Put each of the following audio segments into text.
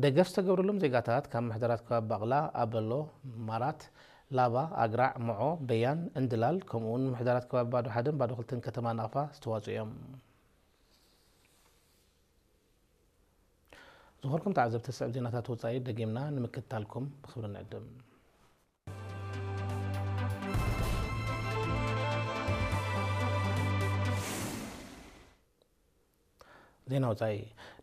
ደገፍ ዝተገብረሎም ዜጋታት ካብ ምሕደራት ከባቢ ባቕላ፣ ኣበሎ፣ ማራት፣ ላባ፣ ኣግራዕ፣ መዖ፣ በያን፣ እንድላል ከምኡውን ምሕደራት ከባቢ ባዶ ሓደን ባዶ ክልተን ከተማ ናቕፋ ዝተዋፅኡ እዮም። ዝኾርኩም ተዓዘብቲ ስዕብ ዜናታት ወፃኢ ደጊምና ንምክትታልኩም ብክብሪ ንዕድም። ዜና ወፃኢ።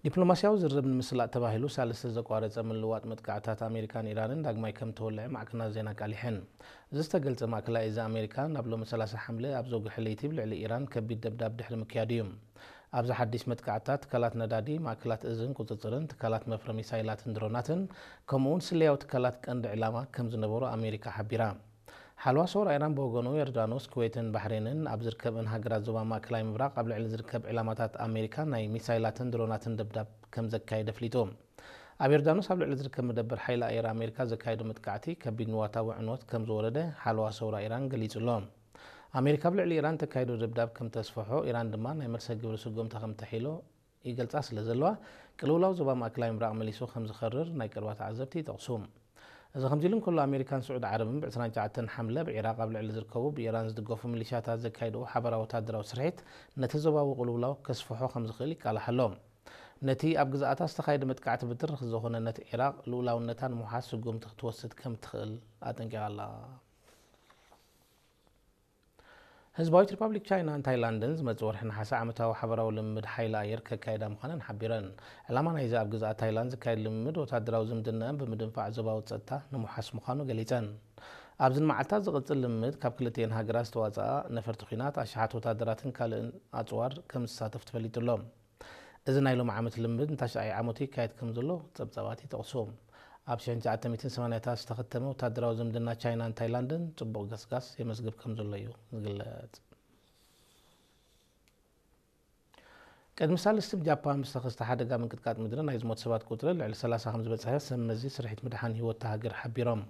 ዲፕሎማስያዊ ዝርርብ ንምስላጥ ተባሂሉ ሳልስቲ ዘቋረፀ ምልዋጥ መጥቃዕታት ኣሜሪካን ኢራንን ዳግማይ ከም ተወልዐ ማዕከናት ዜና ኣቃሊሐን። እዚ ዝተገልጸ ማእከላይ እዚ ኣሜሪካ ናብ ሎሚ ሰላሳ ሓምለ ኣብ ዘውግሐ ለይቲ ብልዕሊ ኢራን ከቢድ ደብዳብ ድሕሪ ምክያዱ እዩ። ኣብዚ ሓድሽ መጥቃዕትታት ትካላት ነዳዲ፣ ማእከላት እዝን ቁጽጽርን፣ ትካላት መፍረ ሚሳይላትን ድሮናትን፣ ከምኡውን ስለያዊ ትካላት ቀንዲ ዕላማ ከም ዝነበሩ ኣሜሪካ ሓቢራ። ሓልዋ ሰውራ ኢራን ብወገኑ፣ ዮርዳኖስ፣ ኩዌትን ባሕሬንን ኣብ ዝርከብእን ሃገራት ዞባ ማእከላይ ምብራቕ ኣብ ልዕሊ ዝርከብ ዕላማታት ኣሜሪካ ናይ ሚሳይላትን ድሮናትን ደብዳብ ከም ዘካየደ ኣፍሊጡ። ኣብ ዮርዳኖስ ኣብ ልዕሊ ዝርከብ መደበር ሓይሊ ኣየር ኣሜሪካ ዘካየዶ መጥቃዕቲ ከቢድ ንዋታዊ ዕንወት ከም ዝወረደ ሓለዋ ሰውራ ኢራን ገሊጹ ኣሎ። ኣሜሪካ ኣብ ልዕሊ ኢራን ተካይዶ ደብዳብ ከም ተስፍሖ፣ ኢራን ድማ ናይ መልሰ ግብሪ ስጉምቲ ከም ተሒሎ ይገልጻ ስለ ዘለዋ፣ ቅልውላው ዞባ ማእከላይ ምብራቕ መሊሱ ከም ዝኸርር ናይ ቀረባ ተዓዘብቲ ይጠቕሱ። እዚ ከምዚ ኢሉ እንከሎ፣ ኣሜሪካን ስዑድ ዓረብን ብ ዕስራን ትሽዓተን ሓምለ ብዒራቕ ኣብ ልዕሊ ዝርከቡ ብኢራን ዝድገፉ ሚሊሻታት ዘካይድኦ ሓበራዊ ወታደራዊ ስርሒት ነቲ ዞባዊ ቅልውላው ከስፍሖ ከም ዝኽእል ይቃላሕ ኣሎ። ነቲ ኣብ ግዝኣታ ዝተኻየደ መጥቃዕቲ ብትሪ ዝኾነነት ዒራቕ ልኡላውነታ ንምውሓስ ስጉምቲ ክትወስድ ከም ትኽእል ኣጠንቂቓ ኣላ። ህዝባዊት ሪፓብሊክ ቻይናን ታይላንድን ዝመጽእ ወርሒ ነሓሰ ዓመታዊ ሓበራዊ ልምምድ ሓይሊ ኣየር ከካይዳ ምዃነን ሓቢረን። ዕላማ ናይዚ ኣብ ግዝኣት ታይላንድ ዝካየድ ልምምድ ወታደራዊ ዝምድናኣን ብምድንፋዕ ዞባዊ ጸጥታ ንምውሓስ ምዃኑ ገሊጸን። ኣብዘን መዓልታት ዝቕጽል ልምምድ ካብ ክልቲኤን ሃገራት ዝተዋጽኣ ነፈርቲ ኲናት፣ ኣሽሓት ወታደራትን ካልእን ኣጽዋር ከም ዝሳተፍ ተፈሊጡ ኣሎ። እዚ ናይ ሎሚ ዓመት ልምምድ ንታሽዓይ ዓመቱ ይካየድ ከም ዘሎ ጸብጻባት ይጠቕሱ። ኣብ ሽሕን ትሽዓተ ሚእትን ሰማንያታት ዝተኸተመ ወታደራዊ ዝምድና ቻይናን ታይላንድን ጽቡቕ ገስጋስ የመዝግብ ከም ዘሎ እዩ ዝግለጽ። ቅድሚ ሳልስቲ ብጃፓን ብዝተኸስተ ሓደጋ ምንቅጥቃጥ ምድሪ ናይ ዝሞት ሰባት ቁጽሪ ልዕሊ ሰላሳ ከም ዝበጽሐ ሰብ መዚ ስርሒት ምድሓን ህይወት እታ ሃገር ሓቢሮም።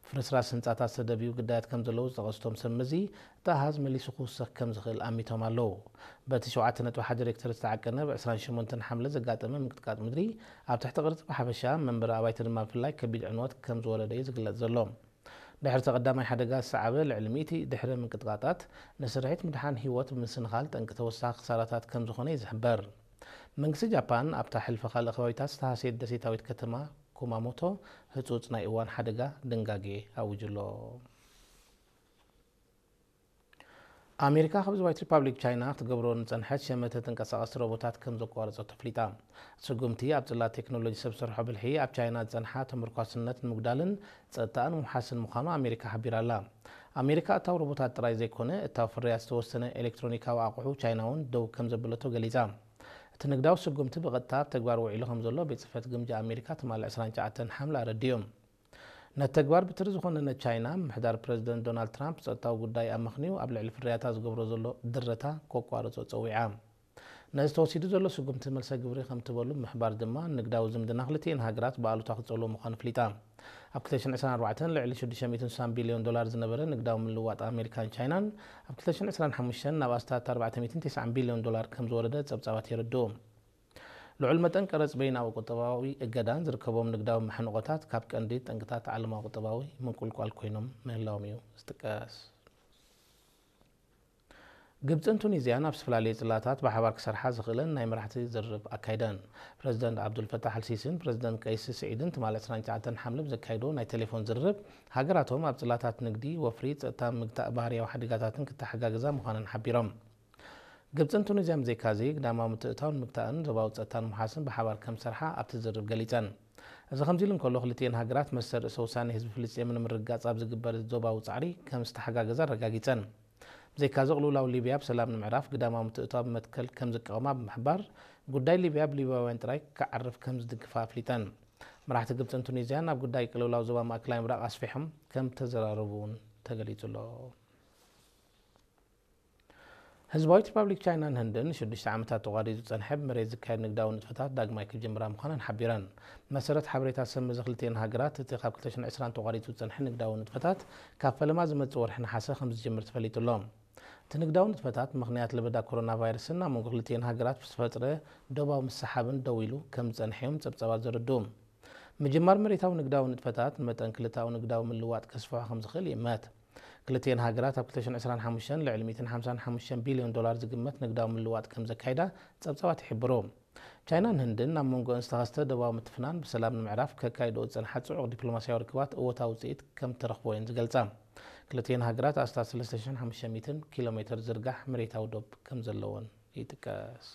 ብፍርስራስ ህንጻታት ዝተደብዩ ግዳያት ከም ዘለዉ ዝጠቐሱ እቶም ሰብ መዚ፣ እቲ ኣሃዝ መሊሱ ክውሰኽ ከም ዝኽእል ኣሚቶም ኣለዉ። በቲ ሸውዓተ ነጥቢ ሓደ ሬክተር ዝተዓቀነ ብ ዕስራን ሸሞንተን ሓምለ ዘጋጠመ ምንቅጥቃጥ ምድሪ፣ ኣብ ትሕቲ ቅርጺ ብሓፈሻ፣ መንበሪ ኣባይቲ ድማ ብፍላይ ከቢድ ዕንወት ከም ዝወረደ እዩ ዝግለጽ ዘሎ። ድሕሪ እቲ ቀዳማይ ሓደጋ ዝሰዓበ ልዕሊ ሚእቲ ድሕሪ ምንቅጥቃጣት፣ ንስርሒት ምድሓን ህይወት ብምስንኻል ጠንቂ ተወሳኺ ክሳራታት ከም ዝኾነ እዩ ዝሕበር። መንግስቲ ጃፓን ኣብታ ሕልፊ ካልእ ከባቢታት ዝተሃስየት ደሴታዊት ከተማ ኩማሞቶ ህጹጽ ናይ እዋን ሓደጋ ድንጋጌ ኣዊጁ ኣሎ። ኣሜሪካ ካብ ህዝባዊት ሪፓብሊክ ቻይና ክትገብሮ ንጸንሐት ሸመተ ተንቀሳቐስቲ ሮቦታት ከም ዘቋረጸቶ ኣፍሊጣ። ስጉምቲ ኣብ ጽላት ቴክኖሎጂ ሰብ ሰርሖ ብልሒ ኣብ ቻይና ዝጸንሓ ተመርኳስነት ንምጉዳልን ጸጥታኣ ንምውሓስን ምዃኑ ኣሜሪካ ሓቢራ ኣላ። ኣሜሪካ እታው ሮቦታት ጥራይ ዘይኮነ፣ እታው ፍርያት ዝተወሰነ ኤሌክትሮኒካዊ ኣቑሑ ቻይና እውን ደው ከም ዘበለቶ ገሊጻ። እቲ ንግዳዊ ስጉምቲ ብቐጥታ ኣብ ተግባር ውዒሉ ከም ዘሎ ቤት ጽሕፈት ግምጃ ኣሜሪካ ትማሊ ዕስራን ትሽዓተን ሓምለ ኣረዲኡ። ነቲ ተግባር ብትሪ ዝኾነነት ቻይና፣ ምምሕዳር ፕረዚደንት ዶናልድ ትራምፕ ጸጥታዊ ጉዳይ ኣመኽንዩ ኣብ ልዕሊ ፍርያታ ዝገብሮ ዘሎ ድረታ ከቋርጾ ጸዊዓ። ነዚ ተወሲዱ ዘሎ ስጉምቲ መልሰ ግብሪ ከም ትበሉ ብምሕባር ድማ፣ ንግዳዊ ዝምድና ክልቲኤን ሃገራት ብኣሉታ ክጸልዎ ምዃኑ ኣፍሊጣ። ኣብ ክልተ ሽሕን ዕስራን ኣርባዕተን ልዕሊ ሽዱሽተ ሚእትን ስሳን ቢልዮን ዶላር ዝነበረ ንግዳዊ ምልውዋጥ ኣሜሪካን ቻይናን፣ ኣብ ክልተ ሽሕን ዕስራን ሓሙሽተን ናብ ኣስታት ኣርባዕተ ሚእትን ተስዓን ቢልዮን ዶላር ከም ዝወረደ ጸብጻባት የረድኡ። ልዑል መጠን ቀረጽ በይናዊ ቁጠባዊ እገዳን ዝርከቦም ንግዳዊ መሕንቖታት ካብ ቀንዲ ጠንቅታት ዓለማዊ ቁጠባዊ ምንቁልቋል ኮይኖም ምህላዎም እዩ ዝጥቀስ። ግብጽን ቱኒዝያን ኣብ ዝተፈላለዩ ጽላታት ብሓባር ክሰርሓ ዝኽእለን ናይ መራሕቲ ዝርርብ ኣካይደን። ፕረዚደንት ዓብዱልፈታሕ ኣልሲሲን ፕረዚደንት ቀይስ ስዒድን ትማሊ ዕስራን ትሽዓተን ሓምለ ብዘካይዶ ናይ ቴሌፎን ዝርርብ፣ ሃገራቶም ኣብ ጽላታት ንግዲ፣ ወፍሪ፣ ጸጥታ፣ ምግታእ ባህርያዊ ሓደጋታትን ክተሓጋገዛ ምዃነን ሓቢሮም። ግብጽን ቱኒዝያን ብዘይካዚ፣ ግዳማዊ ምትእትታውን ምግታእን ዞባዊ ጸጥታን ምውሓስን ብሓባር ከም ዝሰርሓ ኣብቲ ዝርርብ ገሊጸን። እዚ ከምዚ ኢሉ እንከሎ፣ ክልቲኤን ሃገራት መስተ ርእሰ ውሳኔ ህዝቢ ፍልስጤም ንምርግጋጽ ኣብ ዝግበር ዞባዊ ጻዕሪ ከም ዝተሓጋገዛ ኣረጋጊጸን። ብዘይካዚ፣ ቅልውላው ሊብያ ብሰላም ንምዕራፍ ግዳማዊ ምትእትታው ብመትከል ከም ዝቃወማ ብምሕባር፣ ጉዳይ ሊብያ ብሊብያውያን ጥራይ ክዓርፍ ከም ዝድግፋ ኣፍሊጠን። መራሕቲ ግብጽን ቱኒዝያን ኣብ ጉዳይ ቅልውላው ዞባ ማእከላይ ምብራቕ ኣስፊሖም ከም ተዘራረቡ እውን ተገሊጹ ኣሎ። ህዝባዊት ሪፓብሊክ ቻይናን ህንድን ንሽዱሽተ ዓመታት ተቋሪጹ ዝጸንሐ ብመሬት ዝካየድ ንግዳዊ ንጥፈታት ዳግማይ ክጅምራ ምዃነን ሓቢረን። ብመሰረት ሓበሬታ ሰብ መዚ ክልቲኤን ሃገራት፣ እቲ ካብ ክልተ ሽሕን ዕስራን ተቋሪጹ ዝጸንሐ ንግዳዊ ንጥፈታት ካብ ፈለማ ዝመጽእ ወርሒ ነሓሰ ከም ዝጅምር ተፈሊጡ ኣሎ። እቲ ንግዳዊ ንጥፈታት ብምኽንያት ለበዳ ኮሮና ቫይረስን ኣብ መንጎ ክልቲኤን ሃገራት ብዝተፈጥረ ዶባዊ ምስሓብን ደው ኢሉ ከም ዝጸንሐ እዮም ጸብጻባት ዘረድኡ። ምጅማር መሬታዊ ንግዳዊ ንጥፈታት ንመጠን ክልተኣዊ ንግዳዊ ምልዋጥ ከስፍሖ ከም ዝኽእል ይእመት። ክልቲኤን ሃገራት ኣብ ክልተ ሽሕን ዕስራን ሓሙሽተን ልዕሊ ሚእትን ሓምሳን ሓሙሽተን ቢልዮን ዶላር ዝግመት ንግዳዊ ምልዋጥ ከም ዘካይዳ ጸብጻባት ይሕብሩ። ቻይናን ህንድን ኣብ መንጎ ዝተኸስተ ደባዊ ምትፍናን ብሰላም ንምዕራፍ ከካይድኦ ዝጸንሓ ጽዑቕ ዲፕሎማስያዊ ርክባት እወታዊ ውጽኢት ከም ተረኽቦ እየን ዝገልጻ። ክልቲኤን ሃገራት ኣስታት ሰለስተ ሽሕን ሓሙሽተ ሚእትን ኪሎ ሜትር ዝርጋሕ መሬታዊ ዶብ ከም ዘለወን ይጥቀስ።